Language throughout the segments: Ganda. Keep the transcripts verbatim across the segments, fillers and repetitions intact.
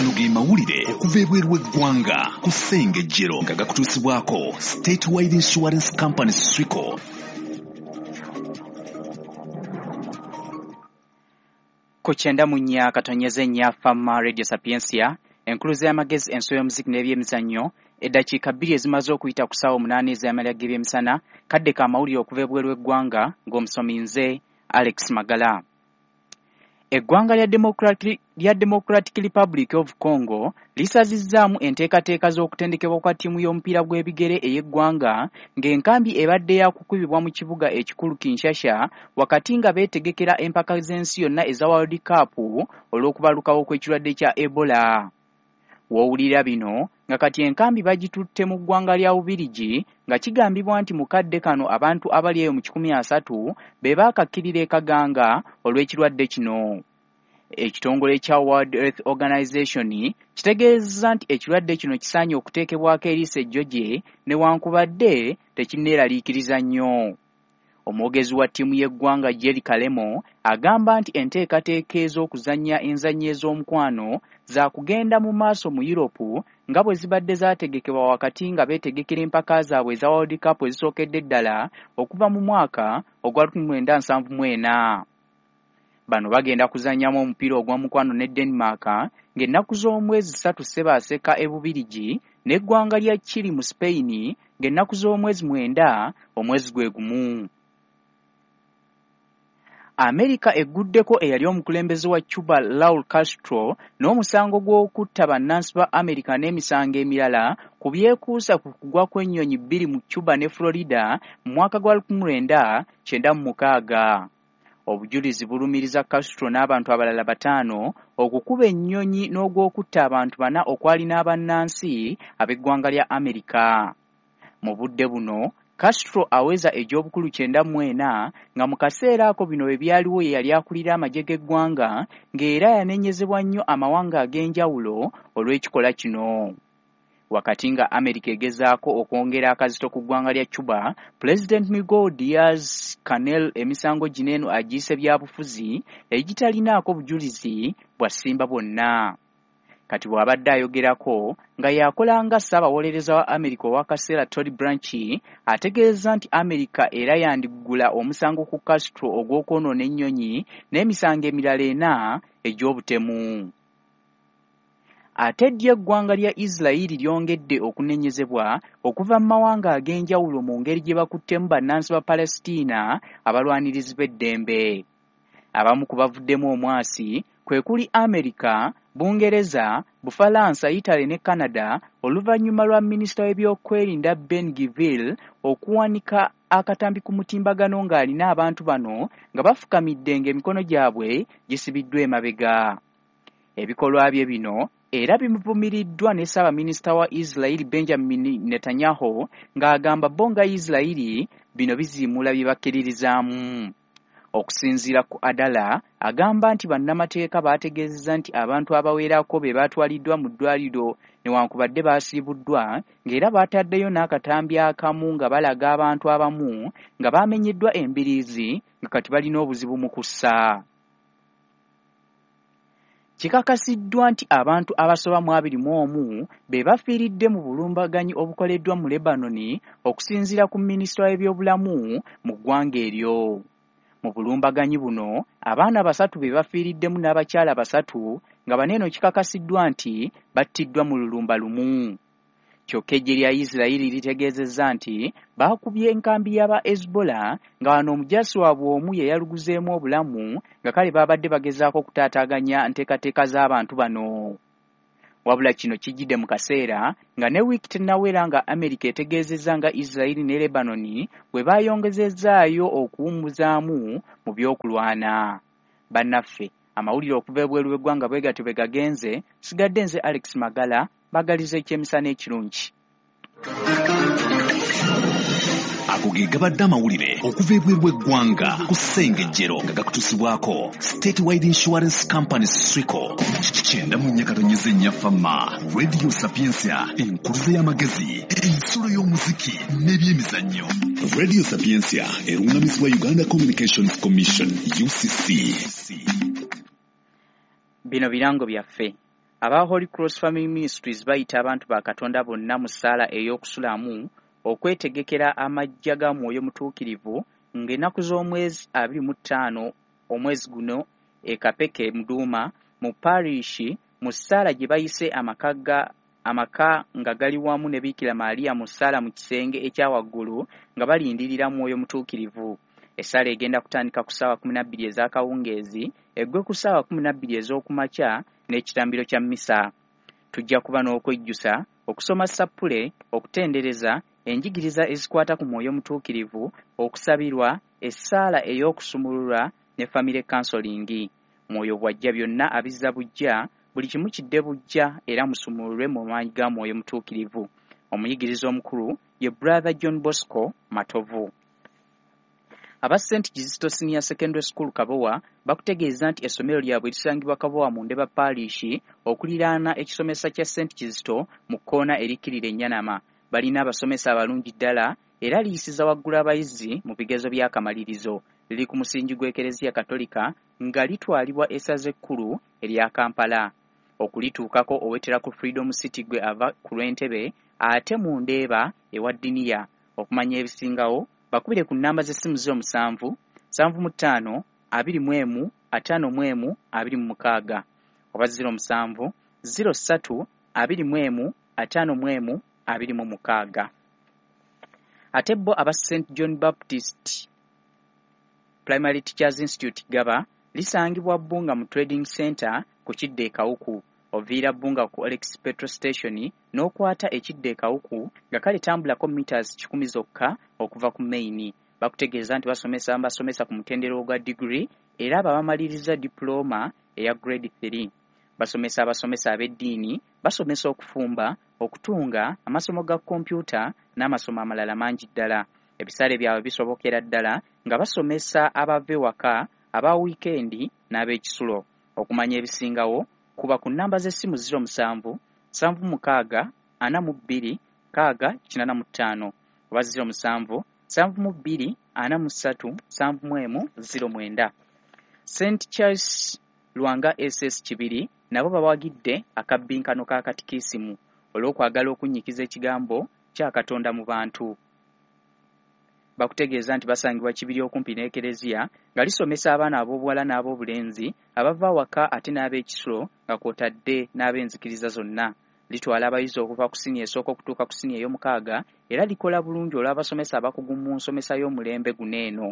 Gano ge mawulire okuva ebweru w'eggwanga ku Ssengejjero nga gakutuusibwako Statewide Insurance Company Swico. Ku kyenda mu nnya katonyeze nnya Fama Radio Sapientia, enkuluze y'amagezi, enso y'omuziki n'ebyemizannyo. Eddakiika bbiri ezimaze okuyita ku ssaawa omunaana ez'amalya g'ebyemisana, kadde ka mawulire okuva ebweru w'eggwanga ng'omusomi nze Alex Magala. Eggwanga lya Democratic, lya Democratic Republic of Congo lisazizzaamu enteekateeka z'okutendekebwa kwa ttiimu y'omupiira gw'ebigere ey'eggwanga ng'enkambi ebadde yakukubibwa mu kibuga ekikulu Kinshasa wakati nga beetegekera empaka z'ensi yonna eza World Cup olw'okubalukawo kw'ekirwadde kya Ebola. W'owulira bino nga kati enkambi bagitutte mu ggwanga lya Bubirigi nga kigambibwa nti mu kadde kano abantu abali eyo mu kikumi asatu be baakakkirira e Kaganga olw'ekirwadde kino. Ekitongole kya World Health Organization kitegeezezza nti ekirwadde kino kisaanye okuteekebwako eriiso ejjoje newankubadde tekinneeraliikiriza nnyo. Omwogezi wa ttiimu y'eggwanga Jerry Kalemo agamba nti enteekateeka ez'okuzannya enzannya ez'omukwano zaakugenda mu maaso mu Europe nga bwe zibadde zaategekebwa wakati nga beetegekera empaka zaabwe eza World Cup ezisookedde ddala okuva mu mwaka ogwa lukumi mwenda nsanvu mu ena. Bano bagenda kuzannyamu omupiira ogw'omukwano ne Denmark ng'ennaku z'omwezi ssatu Ssebaaseka e Bubirigi n'eggwanga lya Chile mu Spain ng'ennaku z'omwezi mwenda omwezi gwe gumu. Amerika egguddeko eyali omukulembeze wa Cuba Raul Castro n'omusango gw'okutta bannansi ba Amerika n'emisango emirala ku byekuusa ku kugwa kw'ennyonyi bbiri mu Cuba ne Florida mu mwaka gwa lukumi lwenda kyenda mu mukaaga. Obujulizi bulumiriza Castro n'abantu abalala bataano okukuba ennyonyi n'ogw'okutta abantu bana okwali n'abannansi ab'eggwanga lya Amerika. Mu budde buno Castro aweza egy'obukulu kyenda mu ena nga mu kaseera ako bino bwe byaliwo ye yali akulira amagye g'eggwanga ng'era yanenyezebwa nnyo amawanga ag'enjawulo olw'ekikola kino. Wakati nga Amerika egezaako okwongera akazito ku ggwanga lya Cuba, Pulezidenti Miguel Diaz-Canel emisango gino eno agiyise byabufuzi egitalinaako bujulizi bwa ssimba bwonna. Kati bw'abadde ayogerako nga yakola nga ssaabawolereza wa Amerika ow'akaseera Todd Blanche ategeeza nti Amerika era yandiggula omusango ku Castro ogw'okwonoona ennyonyi n'emisango emirala ena egy'obutemu. Ate ddyo eggwanga lya Isirayiri lyongedde okunenyezebwa okuva mu mawanga ag'enjawulo mu ngeri gye bakuttemu bannansi ba Palestina abalwanirizi b'eddembe. Abamu ku bavuddemu omwasi kwe kuli Amerika, Bungereza, Bufalansa, Italy ne Canada oluvannyuma lwa minisita w'ebyokwerinda Ben Gvir okuwanika akatambi ku mutimbagano ng'alina abantu bano nga bafukamidde ng'emikono gyabwe gisibiddwa emabega. Ebikolwa bye bino era bimuvumiriddwa ne ssaabaminisita wa Isirayiri Benjamin Netanyahu ng'agamba bo nga Isirayiri bino biziimuula bye bakkiririzaamu. Okusinziira ku Adala agamba nti bannamateeka baategeezezza nti abantu abawerako be baatwaliddwa mu ddwaliro newankubadde baasiibuddwa ng'era baataddeyo n'akatambi akamu nga balaga abantu abamu nga baamenyeddwa embiriizi nga kati balina obuzibu mu kussa. Kikakasiddwa nti abantu abasoba mu abiri mu omu be bafiiridde mu bulumbaganyi obukoleddwa mu Lebanon okusinziira ku minisita w'ebyobulamu mu ggwanga eryo. Mu bulumbaganyi buno abaana basatu be bafiiriddemu n'abakyala basatu nga bano eno kikakasiddwa nti battiddwa mu lulumba lumu. Kyokka eggye lya Isirayiri litegeezezza nti baakubye enkambi y'aba Hezbollah nga wano omujaasi waabwe omu ye yaluguzeemu obulamu nga kale baabadde bagezaako okutaataaganya nteekateeka z'abantu bano. Wabula kino kijjidde mu kaseera nga ne wiiki tennawera nga Amerika etegeezezza nga Isirayiri ne Lebanon bwe baayongezezzaayo okuwummuzaamu mu by'okulwana. Bannaffe, amawulire okuva ebweru w'eggwanga bwe gatyo bwe gagenze, sigadde nze Alex Magala, mbagaliza ekyemisana ekirungi. Ago ge gabadde amawulire okuva ebweru w'eggwanga ku Ssengejjero nga gakutuusibwako Statewide Insurance Company Swico. Kyenda mu nnya katonyeze nnya Fama Radio Sapientia, enkuluze y'amagezi, ensulo y'omuziki n'ebyemizannyo. Radio Sapientia erungamizibwa Uganda Communications Commission U C C. Bino birango byaffe. Aba Holy Cross Family Ministries bayita abantu ba Katonda bonna mu ssaala ey'okusulamu okwetegekera amajja ga Mwoyo Mutuukirivu ng'ennaku z'omwezi abiri mu ttaano omwezi guno e Kapeke Muduuma mu parish mu ssaala gye bayise amaka ga amaka nga gali wamu ne Bikira Maria mu ssaala mu kisenge ekya waggulu nga balindirira Mwoyo Mutuukirivu. Essaala egenda kutandika ku ssaawa kkumi na bbiri ez'akawungeezi eggwe ku ssaawa kkumi na bbiri ez'okumakya n'ekitambiro kya mmisa. Tujja kuba n'okwejjusa, okusoma ssappule, okutendereza, enjigiriza ezikwata ku Mwoyo Mutuukirivu, okusabirwa, essaala ey'okusumululwa ne family counseling. Mwoyo bw'ajja byonna abizza buggya, buli kimu kidde buggya era musumululwe mu maanyi ga Mwoyo Mutuukirivu. Omuyigiriza omukulu ye Brother John Bosco Matovu. Aba Saint Kizito Senior Secondary School Kabowa bakutegeeza nti essomero lyabwe lisangibwa Kabowa mu Ndeba Parish okuliraana ekisomesa kya Saint Kizito mu kkoona erikkirira Ennyanama. Balina abasomesa abalungi ddala era liyisiza waggulu abayizi mu bigezo by'akamalirizo. Liri ku musingi gw'Ekereziya Katolika nga litwalibwa essaza ekkulu erya Kampala. Okulituukako owetera ku Freedom City gwe ava ku lw'Entebe ate mu Ndeeba ewa Ddiniya. Okumanya ebisingawo bakubire ku nnamba z'essimu ziro musanvu, nsanvu mu ttaano, abiri mu emu, ataano mu emu, abiri mu mukaaga oba ziro musanvu, ziro ssatu, abiri mu emu, ataano mu emu, abiri mu mukaaga. Ate bo aba Saint John Baptist Primary Teachers Institute Gaba lisangibwa Bbunga mu Trading Center ku kidda e Kawuku. Oviira Bbunga ku Olex Petrol Station n'okwata ekidda e Kawuku nga kale tambulako meters kikumi zokka okuva ku main. Bakutegeeza nti basomesa basomesa ku mutendera ogwa degree era abo abamaliriza diploma eya grade three. Basomesa abasomesa ab'eddiini, basomesa okufumba, okutunga, amasomo ga kompyuta n'amasomo amalala mangi ddala. Ebisale byabwe bisobokera ddala nga basomesa abava ewaka, aba wiikendi n'ab'ekisulo. Okumanya ebisingawo kuba ku nnamba z'essimu ziro musanvu, nsanvu mukaaga, ana mu bbiri, nkaaga kinaana mu ttaano oba ziro musanvu, nsanvu mu bbiri, ana mu ssatu, nsanvu mu emu, ziro mwenda. Saint Charles Lwanga S S Kibiri nabo bawagidde akabbinkano ka katikisimu olw'okwagala okunnyikiza ekigambo kya Katonda mu bantu. Bakutegeeza nti basangibwa Kibiri okumpi n'Ekereziya nga lisomesa abaana ab'obuwala n'ab'obulenzi abava awaka ate n'ab'ekisulo nga kw'otadde n'ab'enzikiriza zonna. Litwala abayizi okuva ku siniya esooka okutuuka ku siniya ey'omukaaga era likola bulungi olw'abasomesa abakugu mu nsomesa y'omulembe guno eno.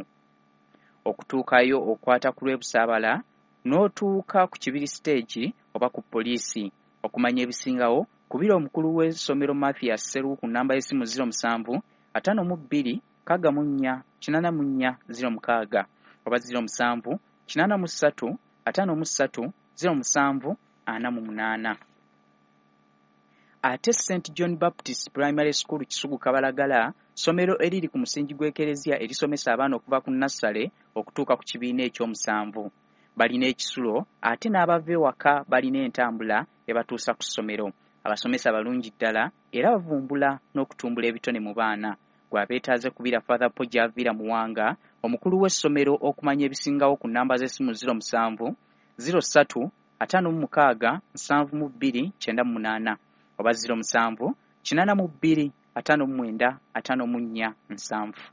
Okutuukayo okwata ku lw'e Busaabala n'otuuka ku Kibiri stage oba ku poliisi. Okumanya ebisingawo kubira omukulu w'essomero Mathias Sseruwu ku nnamba y'essimu ziro musanvu, ataano mu bbiri, nkaaga mu nnya, kinaana mu nnya, ziro mukaaga oba ziro musanvu, kinaana mu ssatu, ataano mu ssatu, ziro musanvu, ana mu munaana. Ate Saint John Baptist Primary School Kisugu Kabalagala, ssomero eriri ku musingi gw'Ekereziya erisomesa abaana okuva ku nnassale okutuuka ku kibiina ekyomusanvu. Balina ekisulo ate n'abava ewaka balina entambula ebatuusa ku ssomero. Abasomesa balungi ddala era bavumbula n'okutumbula ebitone mu baana. Gw'abeetaaze kubira Father Paul Javira Muwanga, omukulu w'essomero okumanya ebisingawo ku nnamba z'essimu ziro musanvu, ziro ssatu, ataano mu mukaaga, nsanvu mu bbiri, kyenda mu munaana oba ziro musanvu, kinaana mu bbiri, ataano mu mwenda, ataano mu nnya, nsanvu.